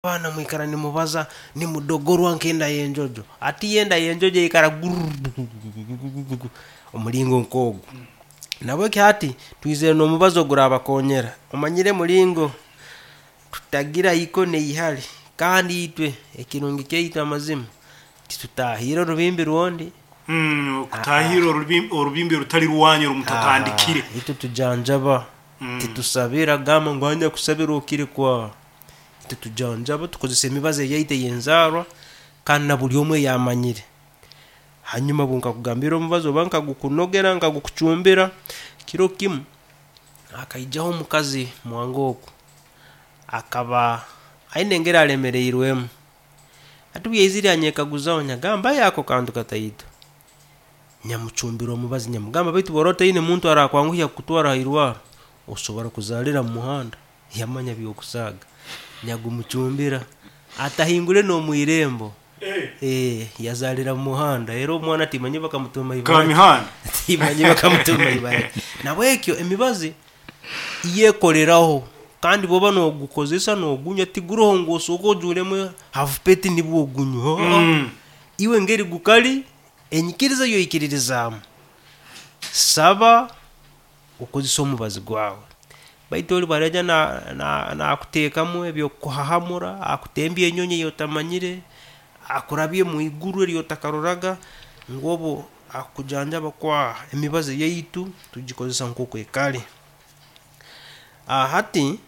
Abaana mwikara nimubaza nimudogorwa nk'enda y'enjojo. Hati yo enda y'enjojo eikara gururururururu omuringo nk'ogwo. Nabweki hati twizire n'omubazi ogurabakonyera. Omanyire muringo tutagira iko n'eihari kandi itwe ekirungi kyaitu amazima titutahiire orubimbi rwondi. Okutaahirra orubimbi orutali rwanyu oru mutatandikire. Itwe tujanjaba, titusabira gamba ngu anya kusabira okire kwa. Titujanjaba, tukozesa emibazi eyaitu ey'enzaarwa kandi na buli omu ei amanyire. Hanyuma obu nkakugambira omubazi oba nkagukunogera nkagukucumbira, kiro kimu hakaijaho omukazi mwange oku, akaba aine engeri alemereirwemu. Hati obu yaizire yanyekaguzaho, nyagamba aye ako kantu kataito. Nyamucumbira omubazi nyamugamba baitu obu oraba otaine muntu arakwanguhya kukutwara ha irwarro, osobora kuzaalira mu muhanda. Yamanya by'okusaaga. Nyagumucumbira atahingure n'omu irembo. Ee, yazaalira mu muhanda. Era omwana timanyire bakamutuuma ibara ki. Kamihanda. Timanyire bakamutuuma ibara ki. Nabwekyo emibazi yekoleraho kandi bw'oba n'ogukozesa n'ogunywa tiguroho ngu osooke ojuuremu havupeti nibwo ogunywe. Oo, iwe engeri gukali, enyikiriza ei oikiririzaamu, saba okozese omubazi gwawe. Baitu ori bwaraija nakuteekamu eby'okukuhahamura, akutembye enyonyi ei otamanyire, akurabye omu iguru eri otakaroraga, ngu obu akukujanjaba kwaha. Emibazi yaitu tugikozesa nk'oku ekali. Hati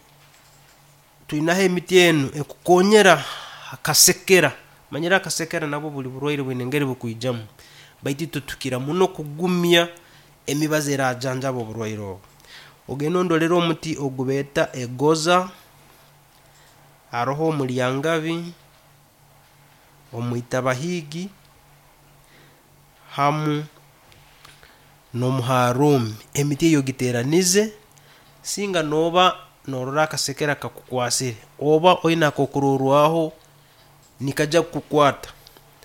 twinaho emiti enu ekukonyera akasekera, omanyire akasekera nabwo buli burwaire bwine engeri bukwijamu, baitu itwe tukira muno kugumya emibazi erajanjaba oburwaire obu. Ogende ondolere omuti ogubeeta egoza, haroho omuryangabi, omwitabahiigi, hamu n'omuharuumi. Emiti egi ogiteeranize, singa nooba noorora akasekere kakukwasire oba oine ak'okurorwaho nikaija kukukwata,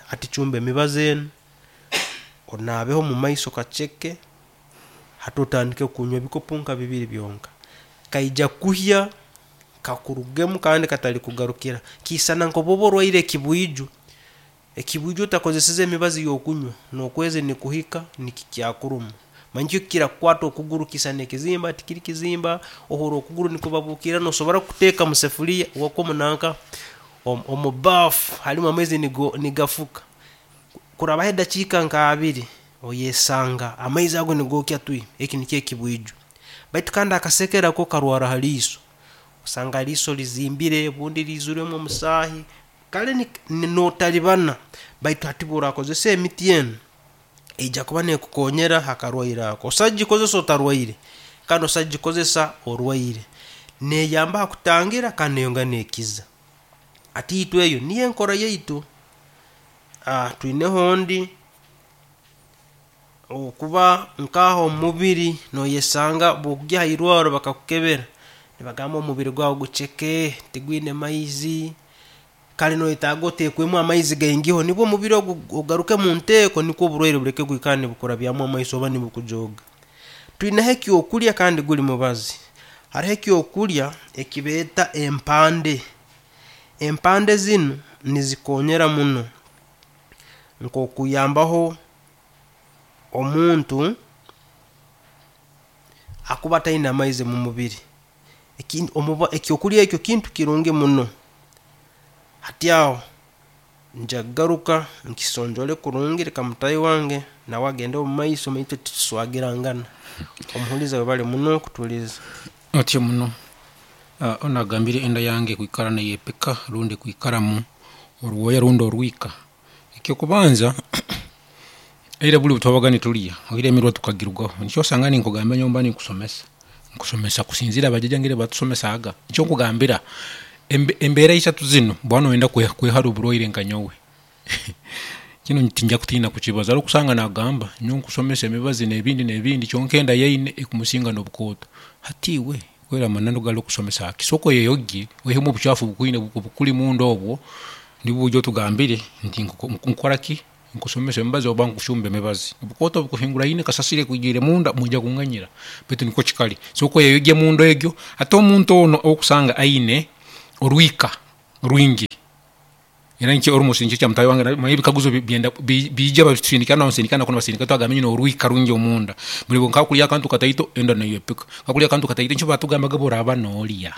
hati cumba emibazi enu, onaabeho omu maiso kaceke, hati otandike kunywa ebikopo nka bibiri byonka. Kaija kuhya kakurugemu kandi katarikugarukira. Kiisana nk'obu oba orwaire ekibwijo, ekibwijo otakozeseze emibazi y'okunywa, n'okwezi nikuhika nikikyakuruma. Manya nikyo kirakukwata okuguru kiisana ekizimba, tikiri kizimba, ohurra okuguru nikubabuukirra, noosobora kukuteeka mu sefuliya omu nanka omu baafu harimu amaizi nigafuka. Kurabaho edakiika nka abiri, oyesanga amaizi ago nigookya twi, eki nikyo ekibwijo. Baitu kandi akasekere ko karwara ha riiso, osanga eriiso rizimbire obundi riizwiremu omusaahi, kale nootaribana baitu hati obu oraakozesa emiti enu, eija kuba neekukonyera ha karwaire ako. Osobola kugikozesa otarwaire kandi osobola kugikozesa orwaire. Neeyamba ha kutangira kandi neeyongera neekiza. Hati itwe eyo niyo enkora yaitu. Twineho ondi, okuba nk'aha omu mubiri nooyesanga obu okugya ha irwarro bakakukebera, nibagamba omubiri gwawe guceke, tigwine maizi, kare noyetaaga oteekwemu amaizi gaingiho nibwo omubiri ogu ogaruke mu nteeko nikwo oburwaire buleke kwikara nibukurabyamu amaiso oba nibukujooga. Twineho ekyokurya kandi guli mubazi. Haroho ekyokurya eki beeta empande. Empande zinu nizikonyera muno nk'okuyambaho omuntu akuba ataine amaizi mu mubiri. Ekyokurya ekyo kintu kirungi muno. Hati aho nja kugaruka nkisonjole kurungi leka mutaahi wange nawe agende omu maiso itwe tituswagirangana. Omuhuliza webale muno kutuhuliiriza. Otyo muno. Onu agambire enda yange kwikara neyepika rundi kwikaramu orwoya rundi orwika. Ekyokubanza, eira buli bwetwabaga nitulya, oire emirwa tukagirugaho, nikyo osanga ninkugambira nyowe mba ninkusomesa, nkusomesa kusinzira bajaja engeri batusomesaga. Nikyo nkugambira embeera isatu zinu bwoba noyenda kwehara oburwaire nka nyowe, kinu tinjja kutina kukibaza, hariho okusanga nagamba nyowe nkusomesa emibazi nebindi nebindi kyonka enda yeine ekumusinga nobukooto. Hati iwe kweri amananu gali okusomesa ki? Sooka oyeyogye oihemu obukyafu obukuli munda obwo nibwo oije otugambire nti nkukoraki, nkusomesa emibazi oba nkucumba emibazi. Obukooto bukuhinguraine, kasasiro ekwijuire munda mwija kunganyira baitu nikwo kikali. Sooka oyeyogye munda egyo. Hati omuntu onu owokusanga aine orwika. Rwingi era nikyo almost nikyo kya mutaahi wange manya ebikaguzo byenda biija babisindika nabasindika nakunu nibasindika twagamba nyine orwika rwingi omunda buri nkakurya akantu kataito enda neyepika nkakurya akantu kataito nikyo batugambaga obu oraaba norya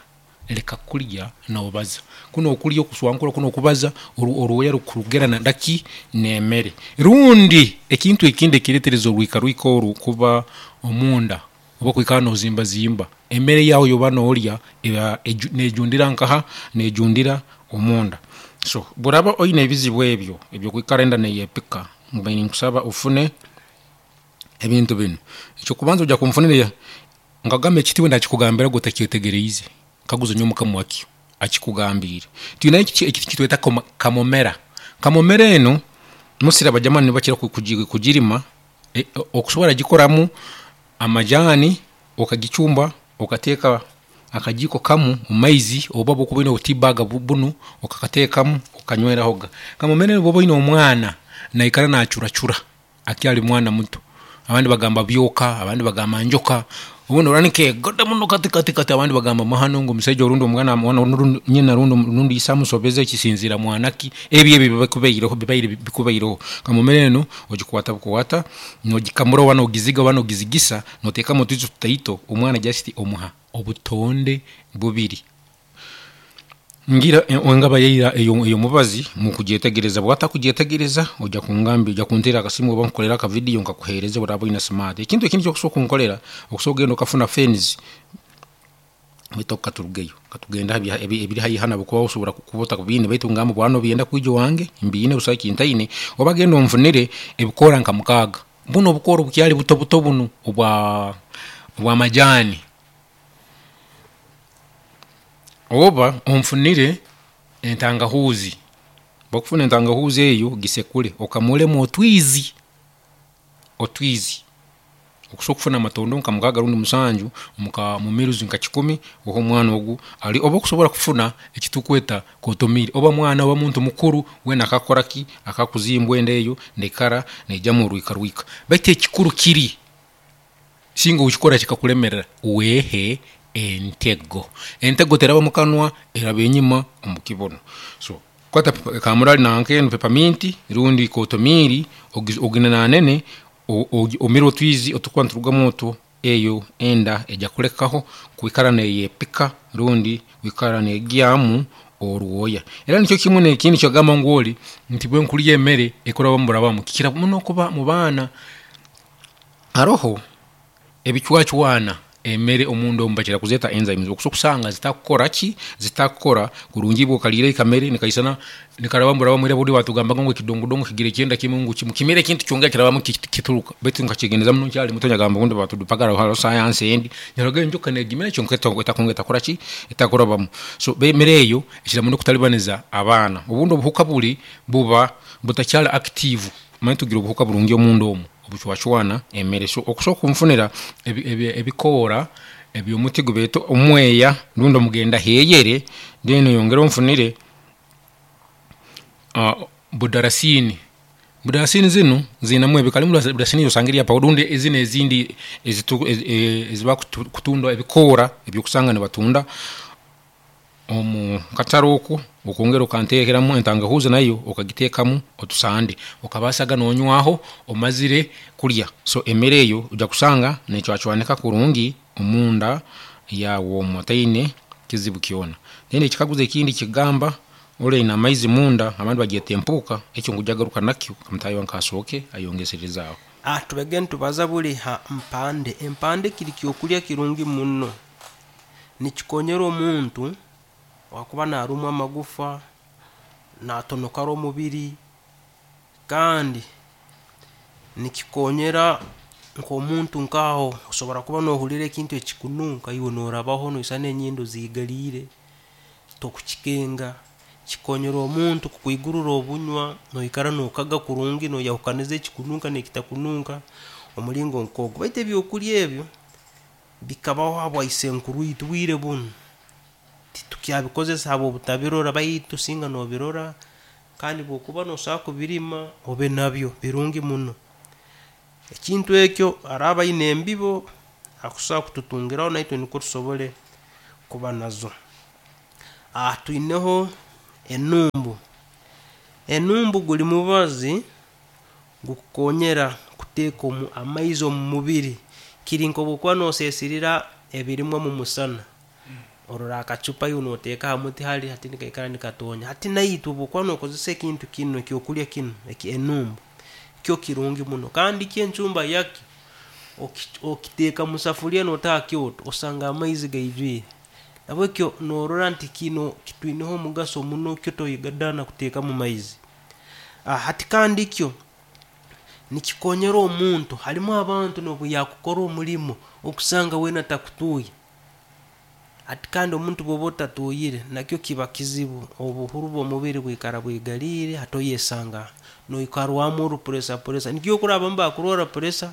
leka kurya nobaza kunu okurya okuswankura kunu okubaza orwoya rukurugerana naki nemere rundi ekintu ekindi ekiretereza orwika rwika oru kuba omunda oba kwikara nozimbazimba emere yawe yoba norya eba nejundira nkaha nejundira omunda so bworaba oyine ebizibu ebyo ebyokwikara enda neyepika mbaire ninkusaba ofune ebintu binu. Ekyokubanza oija kunfunira nkagamba ekiti bwendakikugambira gwe otakyetegereize kaguza nyowe mukama wakyo akikugambiire. Twine ekiti ekitweta kamomera, kamomera enu mostly abajamani nibo bakira kugirima, okusobora kugikoramu amajaani okagicumba okateeka akajiiko kamu mumaizi oba bwokuba oyine obu tea bag bunu okakateekamu okanywerahoga. Kamomera enu bwoba oyine omwana naikara nacuracura akyali mwana muto, abandi bagamba byoka, abandi bagamba njoka, obundi norora nikegoda muno kati kati kati abandi bagamba mahano ngu omusaija rundi nyina rundi ise amusobeze kisinziira mwana ki, ebi ebi bikubiire bikubaireho. Kamomera enu ogikwata bukwata nogikamura oba nogiziga oba nogizigisa notekamu otwizi tutaito omwana just omuha obutonde bubiri. Ngira engaba yeira eyomubazi mukugyetegereza, bwotakugyetegereza oija kungambira, oija kunterra akasimu oba nkukolere aka video nkakuhereze obworaba oyina smart. Ekintu ekindi ekyokusobola kunkolera, okusobola kugenda okafuna fens, baitu oku katurugeyo, katugende habiri haihi hanu habwokuba osobola kuba otabiine baitu ningamba bworaba nobyenda kwija owange mbiine busaho ekintaine, oba genda onfunire ebikoora nka mukaaga, bunu obukoora obukyali buto buto bunu obwamajaani, oba onfunire entangahuuzi, obu okufuna entangahuuzi eyo gisekure okamuremu otwiizi, otwiizi, okusobola kufuna amatondo nka mukaaga rundi musanju mu mils nka kikumi ohe omwana ogu arye, oba okusobola kufuna ekitukweta kotomili oba mwana oba muntu mukuru weena akakukoraki, akakuzimbwa enda eyo neikara neijamu orwiika rwiika. Baitu ekikuru kiri, singa okikora kikakulemerera, wehe entego, entego teraba mukanwa, eraba enyima omukibunu. So kwata kamurari nanka enu peppermint rundi kotomili oginenanene omire otwiizi otukuba niturugamu otu, eyo enda eija kulekaho kwikara neyepika rundi kwikara negyamu orwooya. Era nikyo kimu nekindi ekyogamba ngu ori nti bwenkurya emere ekurabamu burabamu, kikira muno kuba mubaana. Haroho ebicwacwana emere omunda omu bakira kuzeeta enzymes okusobola kusanga zitakukoraki, zitakukora kurungi iwe okariire akamere nikaisana nikarabamu burabamu era buri batugambaga ngu ekidongodongo kigira ekyenda kimu ngu mukimire ekintu kyongera kirabamu kituruka baitu nkakyegendereza muno nkyali muto nagamba obundi batudupaga haroho science endi, naroraga enjoka negimira kyonka etakongera etakoraki, etakurabamu. So emere eyo ekira muno kutaribaniza abaana. Obundi obuhuka buri buba butakyali active, omanyire tugira obuhuka burungi omunda omu obucwacwana emere. So okusobola kunfunira ebikoora ebyomuti ogubeeta omweeya rundi omugenda heyere, then oyongere onfunire budarasini. Budarasini zinu ziinemu ebika, haroho budarasini eyosanga eri ya powder rundi zinu ezindi ezibakutunda ebikoora ebyokusanga nibatunda omu katare oku, okongera okantekeramu entangahuuzi nayo okagiteekamu otusande, okabaasaga nonywaho omazire kurya. So emere eyo noija kusanga necwacwanika kurungi omunda yaawe omu otaine kizibu kyoona. Then ekikaguzo ekindi kigamba ori ayine amaizi munda abandi bagyeta empuuka, ekyo nkwija kugaruka nakyo mutaahi wange asooke ayongesereze aho. Tubege nitubaza buri ha mpande. Empande kiri kyokurya kirungi muno. Nikikonyera omuntu owakuba narumwa amagufa, natonokara omubiri, kandi nikikonyera nk'omuntu nkaho osobora kuba nohurra ekintu ekikununka iwe norabaho noisana enyindo ziigaliire, tokukikenga. Kikonyera omuntu kukwigurra obunywa, noikara nokaga kurungi, noyahukaniza ekikununka n'ekitakununka, omulingo nk'ogu. Baitu ebyokulya ebyo bikabaho habwa isenkuru itwe, bwire bunu titukyabikozesa habw'obutabirora baitu singa nobirora kandi obu okuba nosobora kubirima obe nabyo, birungi muno. Ekintu ekyo araaba aine embibo akusobola kututungiraho naitwe nikwo tusobole kuba nazo. Twineho. Enumbu, enumbu guli mubazi gukukonyera kuteeka omu amaizi omu mubiri. Kiri nk'obu okuba noseesirira ebirimwa mu musana, orora akacupa iwe noteeka ha muti hali hati nikaikara nikatoonya. Hati naitwe obu okuba nokozesa ekintu kinu, ekyokulya kinu eki enumbu, kyo kirungi muno. Kandi kyo encumba yakyo, okiteeka mu safuliya noota ha kyoto, osanga amaizi gaijwire. Nahabwekyo norora nti kinu kitwineho omugaso muno, kyo toyegadaana kuteekamu maizi. Hati kandi kyo nikikonyera omuntu, halumu abantu nobu yakukora omulimo okusanga weena takutuuya. Hati kandi omuntu bwoba otatuuyire, nakyo kiba kizibu, obuhuru bw'omubiri bwikara bwigaliire, hati oyesanga noikarwamu orupureesa pureesa. Nikyo okurora abamu bakurwara pureesa,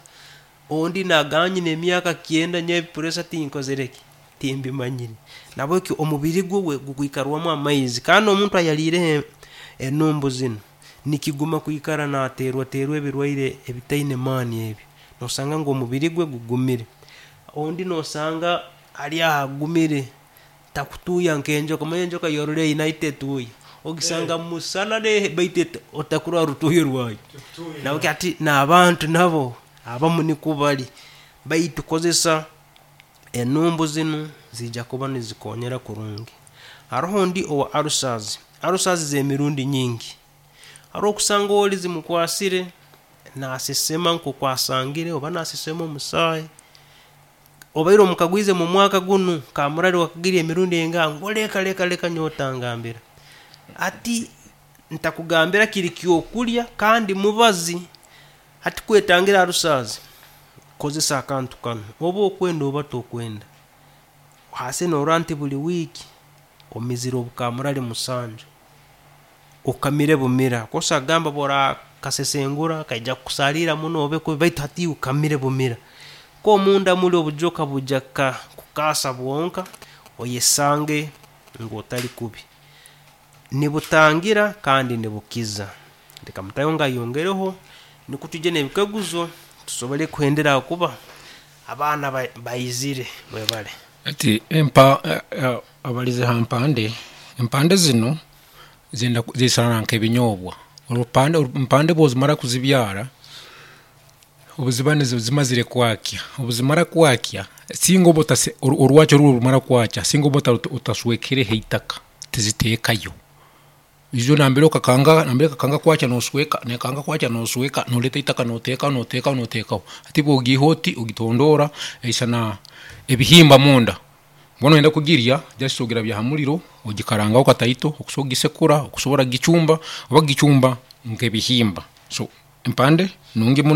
ondi nagamba nyina emyaka kyenda nyowe pureesa tinkozire ki, timbimanyire. Nahabwekyo omubiri gwe gukwikarwamu amaizi, kandi omuntu ayaliireho enumbu zinu, nikiguma kwikara nateerwateerwa ebirwaire ebitaine maani ebi, nosanga ngu omubiri gwe gugumire. Ondi nosanga ali aho agumire, takutuuya nk'enjoka, omanyire enjoka yo orora eine hati tetuuya, ogisanga mumusana baitu otakurora rutuuyo rwayo. Nahabweki hati n'abantu nabo abamu nikwo bali, baitu kozesa enumbu zinu, ziija kuba nizikonyera kurungi. Haroho ondi owa ulcers, ulcers z'emirundi nyingi, haroho okusanga oli zimukwasire naasesema nkooku asangire oba naasesema omusaayi, obaire omukagwize mu mwaka gunu kamurali wakagirya emirundi engaha, ngu leka leka leka nyowe otangambira. Hati ntakugambira kiri kyokulya kandi mubazi, hati kwetangira ulcers, kozesa akantu kanu, oba okwenda oba tokwenda, hase norora nti buli wiiki omizire obukamurali musanju, okamire bumira, kosa kugamba obu orakasesengura kaija kukusaaliira muno obe kubi baitu hati iwe kamire bumira. Nk'omunda muli obujoka bwija kukaasa bwonka, oyesange ngu otali kubi. Nibutangira kandi nibukiza. Leka mutaahi wange ayongereho nukwo twije n'ebikaguzo tusobole kuhendera habwokuba abaana baizire. Mwebale. Hati abalize ha mpande, empande zinu zenda zisana nk'ebinyobwa. Empande obu ozimara kuzibyara, obu ziba zimazire kwakya, obu zimara kwakya, singa oba orwakyo runu obu rumara kwakya, singa oba otaswekereho eitaka, tiziteekayo. Ijo nambere okakanga kwakya nosweka, nekanga kwakya nosweka, noreeta eitaka noteekaho noteekaho noteekaho. Hati obu ogiiha oti, ogitondoora, eisana ebihimba munda. Mbwenu noyenda kugirya, just ogirabya ha muriro, ogikarangaho kataito, okusobora kugisekura, okusobora kugicumba, oba kugicumba nk'ebihimba. So empande nungi muno.